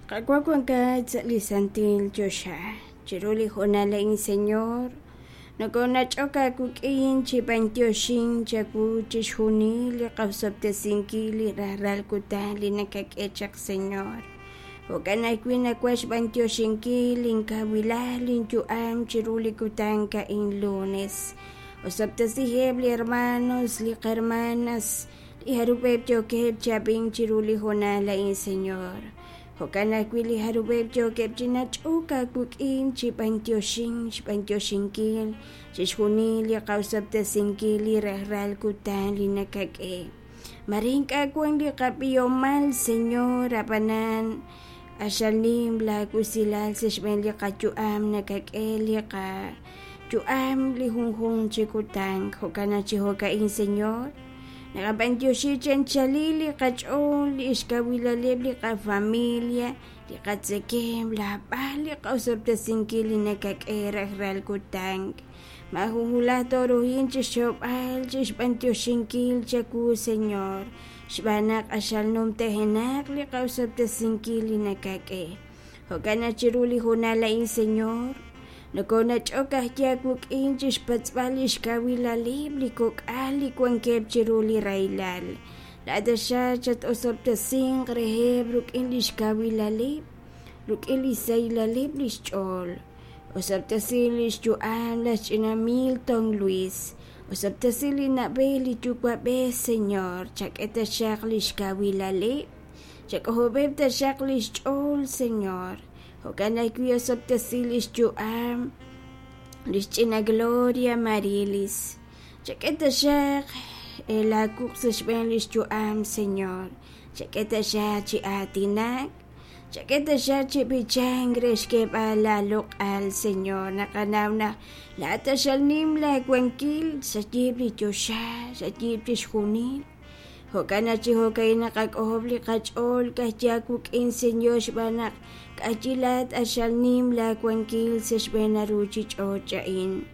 Qaawa' wankat sa' li santil choxa, chiru li hoonal a'in, Señor, nokonach'ok aawik'in chi b'antioxink chawu chixjunil li qosob'tesinkil li rajlal kutan li nakak'e chaq, Señor. Jo'kan ajwi' nawaj xb'antioxinkil linkawilal linyu'am chiru li kutan a'in lunes. Osob'tesiheb' li hermanos, li qhermanas, li jarub'eb' yookeb' chi ab'ink chiru li hoonal a'in, Señor. Jo'kan ajwi' li jarub'eb' yookeb' chi nach'ok aawik'in chi b'antioxink, xb'antioxinkil chixjunil li qosob'tesinkil li rajlal kutan li nakak'e. Mare ink'a' wan li qab'ihomal, Señor, ab'anan q'axal nim laawusilal sa' xb'een li qayu'am nakak'e li qayu'am li junjunq chi kutan. Jo'kan naq chi jo'ka'in, Señor, naqab'antioxi chi anchalil li qach'ool, li xkawilaleb' li qafamilia, li qatzekemq, laab'al li qosob'tesinkil li nakak'e rajlal kutan. Maajun wulaj tooruhin chi xxokb'al, chi xb'antioxinkil chawu, Señor, xb'aan naq q'axal numtajenaq li qosob'tesinkil li nakak'e. Jo'kan naq chiru li hoonal a'in, Señor, nokonach'ok ajwi' aawik'in chi xpatz'b'al li xkawilaleb' li kok'al li wankeb' chiru li rahilal. Laa'at taxaq chat-osob'tesinq reheb' rik'in li xkawilaleb', rik'in li xsahilaleb' li xch'ool. Osob'tesi li xyu'am laj ch'ina Milton Luis. Osob'tesi li na'b'ej li yuwa'b'ej, Señor, chak'e taxaq li xkawilaleb', chak'ojob'eb' taxaq li xch'ool, Señor. Jo'kan ajwi' osob'tesi li xyu'am li xch'ina Gloria Marilis. Chak'e taxaq laawuq' sa' xb'een li xyu'am, Señor. Chak'e taxaq chi aatinak. Chak'e taxaq chi b'ichank re xk'eeb'al laaloq'al, Señor. Naqanaw naq laa'at q'axal nim laawankil, xayiib' li choxa, xayiib' chixjunil. Jo'kan naq chi jo'ka'in naqak'ojob' li qach'ool ka'ajwi' aawik'in, Señor, xb'aan naq ka'ajwi' laa'at q'axal nim laawankil sa' xb'een a ruuchich'och' a'in.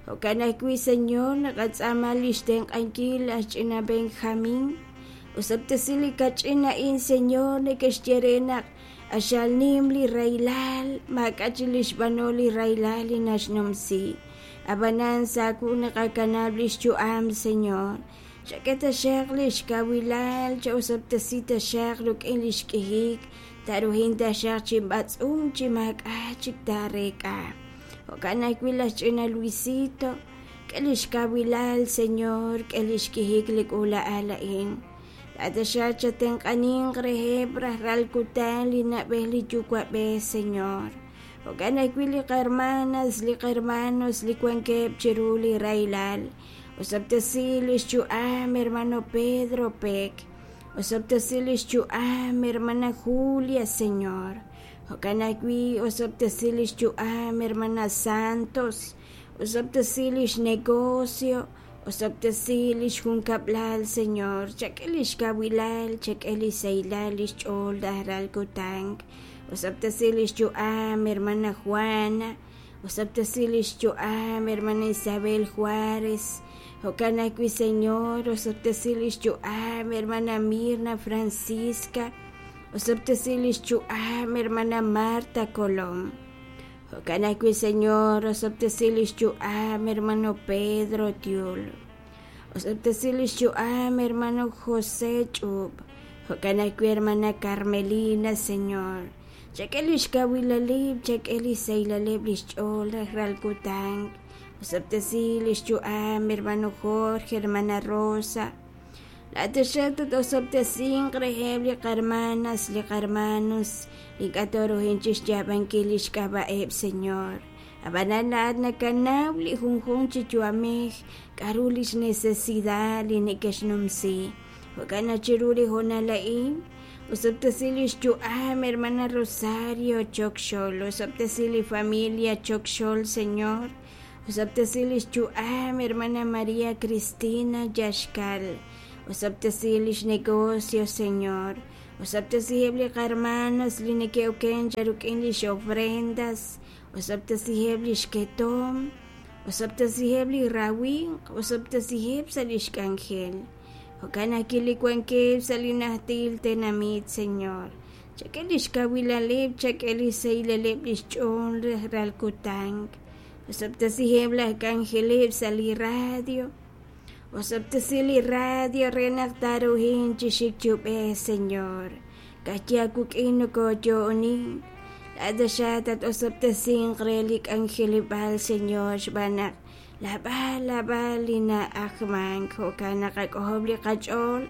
Jo'kan ajwi', Señor, naqatz'aama li xtenq'ankil laj ch'ina Benjamín. Osob'tesi li kach'in a'in, Señor, neke'xye re naq q'axal nim li rahilal, maak'a' chik li xb'anol li rahilal li naxnumsi. Ab'anan sa' aawu naqakanab' li xyu'am, Señor. Chak'e taxaq li xkawilal, cha'osob'tesi taxaq rik'in li xk'ihik, taaruhin taxaq chi b'atz'unk chi maak'a' chik taareek'a. Jo'kan ajwi' laj ch'ina Luisito, k'e li xkawilal, Señor, k'e li xk'ihik li k'uula'al a'in. Laa'at taxaq chatenq'aninq reheb' rajlal kutan li na'b'ej li yuwa'b'ej, Señor. Jo'kan ajwi' li qahermanas, li qahermanos li wankeb' chiru li rahilal. Osob'tesi li xyu'am hermano Pedro Pek. Osob'tesi li xyu'am hermana Julia, Señor. Jo'kan ajwi' osob'tesi li xyu'am hermana Santos. Osob'tesi li xnegocio. Osob'tesi li xjunkab'lal, Señor. Chak'e li xkawilal, chak'e li xsahilal li xch'ool rajlal kutan. Osob'tesi li xyu'am hermana Juana. Osob'tesi li xyu'am hermana Isabel Juárez. Jo'kan ajwi', Señor, osob'tesi li xyu'am hermana Mirna Francisca. Osob'tesi li xyu'am hermana Marta Colom. Jo'kan ajwi', Señor, osob'tesi li xyu'am hermano Pedro Tiul. Osob'tesi li xyu'am hermano José Ch'ub. Jo'kan ajwi', hermana Carmelina, Señor. Chak'e li xkawilaleb', chak'e li xsahilaleb' li xch'ool rajlal kutan. Osob'tesi li xyu'am hermano Jorge, hermana Rosa. Laa'at taxaq tat-osob'tesinq reheb' li qahermanas, li qahermanos li ink'a' tooruhin chixyaab'ankil lix k'ab'a'eb', Señor. Ab'anan laa'at nakanaw li junjunq chi yu'amej k'a'ru lix necesidad li neke'xnumsi. Jo'kan naq chiru li hoonal a'in, osob'tesi li xyu'am hermana Rosario Chokxol, osob'tesi li familia Chokxol, Señor. Osob'tesi li xyu'am hermana María Cristina Yaxkal, osob'tesi li xnegocio, Señor. Osob'tesiheb' li qahermanos li neke'oken cha rik'in lix ofrendas, osob'tesiheb' li xketomq, osob'tesiheb' li rawimq, osob'tesiheb' sa' lix k'anjel. Jo'kan ajwi' li wankeb' sa' li najtil tenamit, Señor. Chak'e lix kawilaleb', chak'e lix sahilaleb' lix ch'ool rajlal kutan. Osob'tesiheb' laj k'anjeleb' sa' li radio. Osob'tesi li radio re naq taaruhin chi xik chi ub'ej, Señor. Ka'ajwi' aawik'in nokoyo'onin. Laa'at taxaq tat-osob'tesinq re li k'anjeleb'aal, Señor, xb'aan naq lab'al lab'al li na'ajmank. Jo'kan naqak'ojob' li qach'ool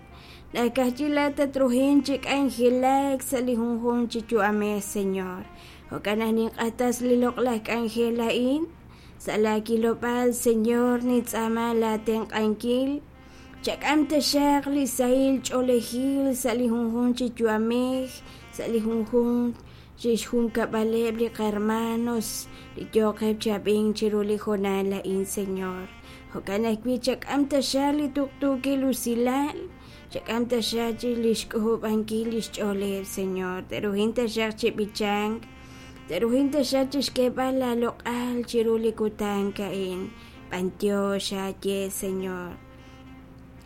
naq ka'ajwi' laa'at tatruhin chi k'anjelak sa' li junjunq chi yu'amej, Señor. Jo'kan naq ninq'axtes li loq'laj k'anjel a'in sa' laa kilob'aal, Señor, nintz'aama laa tenq'ankil. Chak'am taxaq li sahil ch'oolejil sa' li junjunq chi yu'amej, sa' li junjunq chi xjunkab'aleb' li qahermanos li yooqeb' chi ab'ink chiru li hoonal a'in, Señor. Jo'kan ajwi' chak'am taxaq li tuqtuukil usilal, chak'am taxaq chi lix k'ojob'ankil lix ch'ooleb', Señor. Te'ruhin taxaq chi b'ichank, te'ruhin taxaq chixk'eeb'al laa loq'al chiru li kutan a'in. B'antiox aaye, Señor.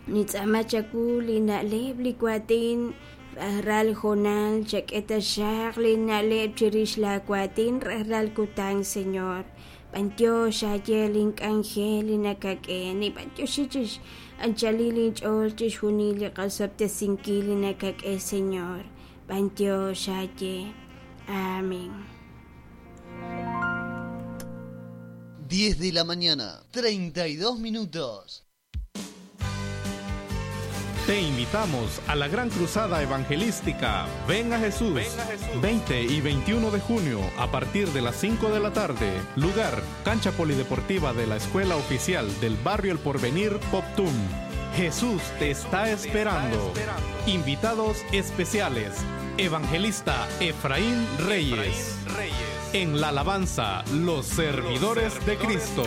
Nintz'aama chawu li na'leb' li waatin rajlal hoonal, chak'e taxaq li na'leb' chirix laa waatin rajlal kutan, Señor. B'antiox aaye lin k'anjel li nakak'e. Ninb'antioxi chix anchalil inch'ool chixjunil li qosob'tesinkil li nakak'e, Señor. B'antiox aaye. Amén. 10 de la mañana, 32 minutos. Te invitamos a la gran cruzada evangelística Ven a Jesús, 20 y 21 de junio a partir de las 5 de la tarde. Lugar, cancha polideportiva de la Escuela Oficial del Barrio El Porvenir, Poptum. Jesús te está esperando. Invitados especiales, Evangelista Efraín Reyes. En la alabanza, los servidores de Cristo.